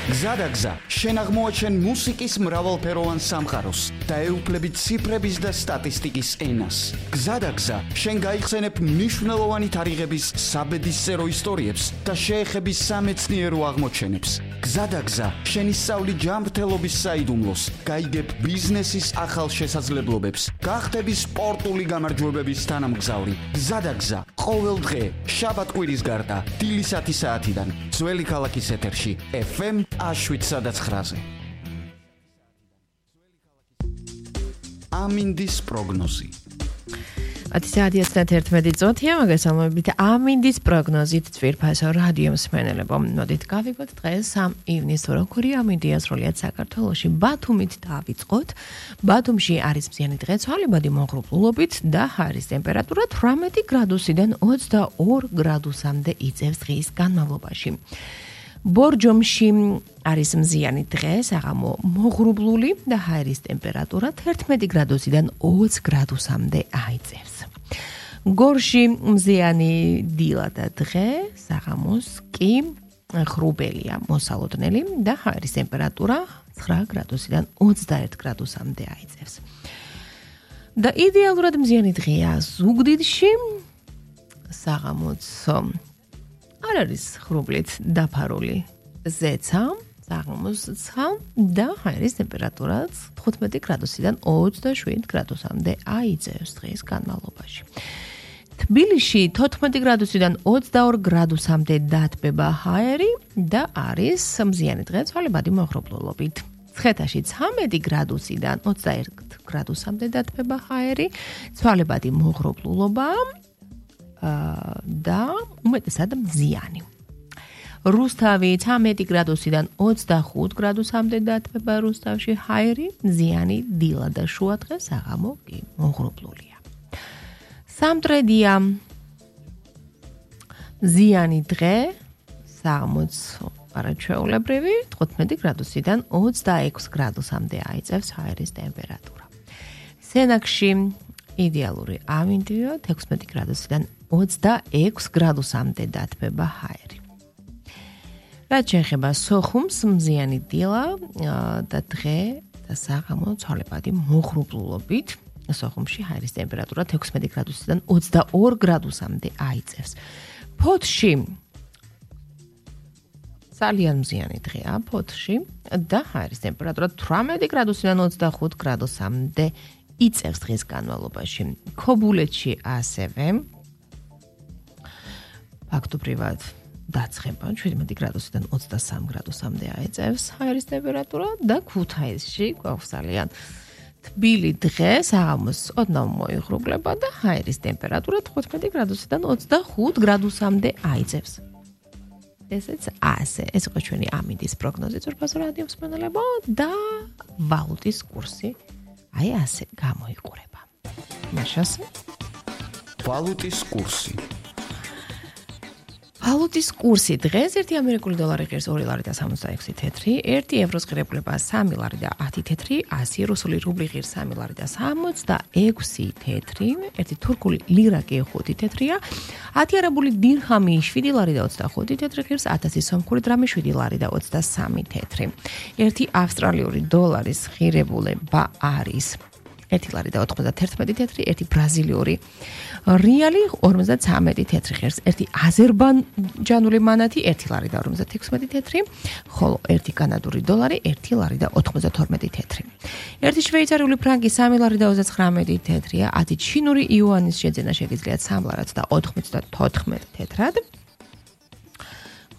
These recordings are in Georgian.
გზადაგზა, შენ აღმოაჩენ მუსიკის მრავალფეროვან სამყაროს და ეუფლებით ციფრების და სტატისტიკის ენას. გზადაგზა, შენ გაიხსენებ მნიშვნელოვანი თარიღების საბედისწერო ისტორიებს და შეეხები სამეცნიერო აღმოჩენებს. გზადაგზა, შენ ისწავლი ჯანმრთელობის საიდუმლოს, გაიგებ ბიზნესის ახალ შესაძლებლობებს, გახდები სპორტული გამარჯვებების თანამგზავრი. გზადაგზა, ყოველ დღე, შაბათ-კვირის გარდა, დილის 10 საათიდან, ძველი ქალაქის ეთერში, FM 7-9-ზე. ამინდის პროგნოზი. 10:11 წუთია, მოგესალმებით ამინდის პროგნოზით ძვირფასო რადიო მსმენელებო. მოდით გავიგოთ დღეს 3 ივნისს როგორი ამინდია სრულიად საქართველოში. ბათუმით დავიწყოთ. ბათუმში არის მზიანი დღე-ცვალებადი მოღრუბლულობით და ჰაერის ტემპერატურა 18 გრადუსიდან 22 გრადუსამდე იწევს დღის განმავლობაში. ბორჯომში არის მზიანი დღე, საღამო მოღრუბლული და ჰაერის ტემპერატურა 11 გრადუსიდან 20 გრადუსამდე აიწევს. გორში მზიანი დილა და დღე, საღამოს კი ღრუბელია, მოსალოდნელი და ჰაერის ტემპერატურა 9 გრადუსიდან 21 გრადუსამდე აიწევს. და იდეალურად მზიანი დღეა ზუგდიდში, საღამოც არ არის ღრუბლით დაფარული ზეცა, საღამოს ცა და ჰაერის ტემპერატურა 15 გრადუსიდან 27 გრადუსამდე აიწევს დღის განმავლობაში. თბილისში 14 გრადუსიდან 22 გრადუსამდე დათბება ჰაერი და არის მზიანი დღე-ცვალებადი მოღრუბლულობით. ცხეთაში 13 გრადუსიდან 21 გრადუსამდე დათბება ჰაერი, ცვალებადი მოღრუბლულობა და უმეტესად მზიანი. რუსთავი 13 გრადუსიდან 25 გრადუსამდე დათბება რუსთავში ჰაერი, მზიანი დილა და შუადღე, საღამო კი მოღრუბლულია. სამტრედია მზიანი დღე, საღამოც არაჩვეულებრივი 15 გრადუსიდან 26 გრადუსამდე აიწევს ჰაერის ტემპერატურა. სენაკში იდეალური ამინდია 16 გრადუსიდან 26 გრადუსამდე დათბება ჰაერი. რაც შეეხება სოხუმს, მზიანი დილა და დღე და საღამო ცვალებადი მოღრუბლულობით. სოხუმში ჰაერის ტემპერატურა 16 გრადუსიდან 22 გრადუსამდე აიწევს. ფოთში ძალიან მზიანი დღეა ფოთში და ჰაერის ტემპერატურა 18 გრადუსიდან 25 გრადუსამდე იწევს დღის განმავლობაში. ქობულეთში ასევე ფაქტობრივად დაცხება 17 გრადუსიდან 23 გრადუსამდე აიწევს ჰაერის ტემპერატურა და ქუთაისში გვაქვს ძალიან თბილი დღე, საღამოს ოდნავ მოიღრუბლება და ჰაერის ტემპერატურა 15 გრადუსიდან 25 გრადუსამდე აიწევს. ესეც ასე, ეს იყო ჩვენი ამინდის პროგნოზი ძვირფასო რადიო მსმენელებო და ვალუტის კურსი აი ასე გამოიყურება. მაშასე ვალუტის კურსი. ვალუტის კურსი დღეს 1 ამერიკული დოლარი ღირს 2 ლარი და 66 თეთრი, 1 ევროს ღირებულება 3 ლარი და 10 თეთრი, 100 რუსული რუბლი ღირს 3 ლარი და 66 თეთრი, 1 თურქული ლირა კი 5 თეთრია, 10 არაბული დირჰამი 7 ლარი და 25 თეთრი ღირს, 1000 სომხური დრამი 7 ლარი და 23 თეთრი. 1 ავსტრალიური დოლარის ღირებულება არის 1 ლარი და 91 თეთრი, 1 ბრაზილიური რეალი 53 თეთრი ღირს, 1 აზერბაიჯანული მანათი 1 ლარი და 56 თეთრი, ხოლო 1 კანადური დოლარი 1 ლარი და 92 თეთრი. 1 შვეიცარიული ფრანკი 3 ლარი და 39 თეთრია, 10 ჩინური იუანის შეძენა შეგიძლიათ 3 ლარად და 94 თეთრად.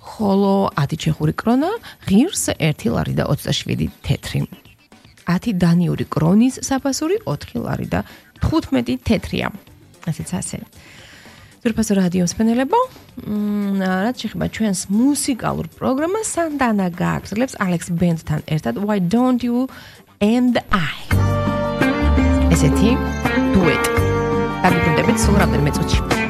ხოლო 10 ჩეხური კრონა ღირს 1 ლარი და 27 თეთრი. 10 დანიური კრონის საფასური 4 ლარი და 15 თეთრია. ასეც ასე. ძვირფასო რადიო მსმენელებო, რაც შეეხება ჩვენს მუსიკალურ პროგრამას, სანდანა გააგრძელებს Alex Band-თან ერთად Why Don't You and I. ესეთი დუეტი. დაგიბრუნდებით სულ რამდენიმე წუთში.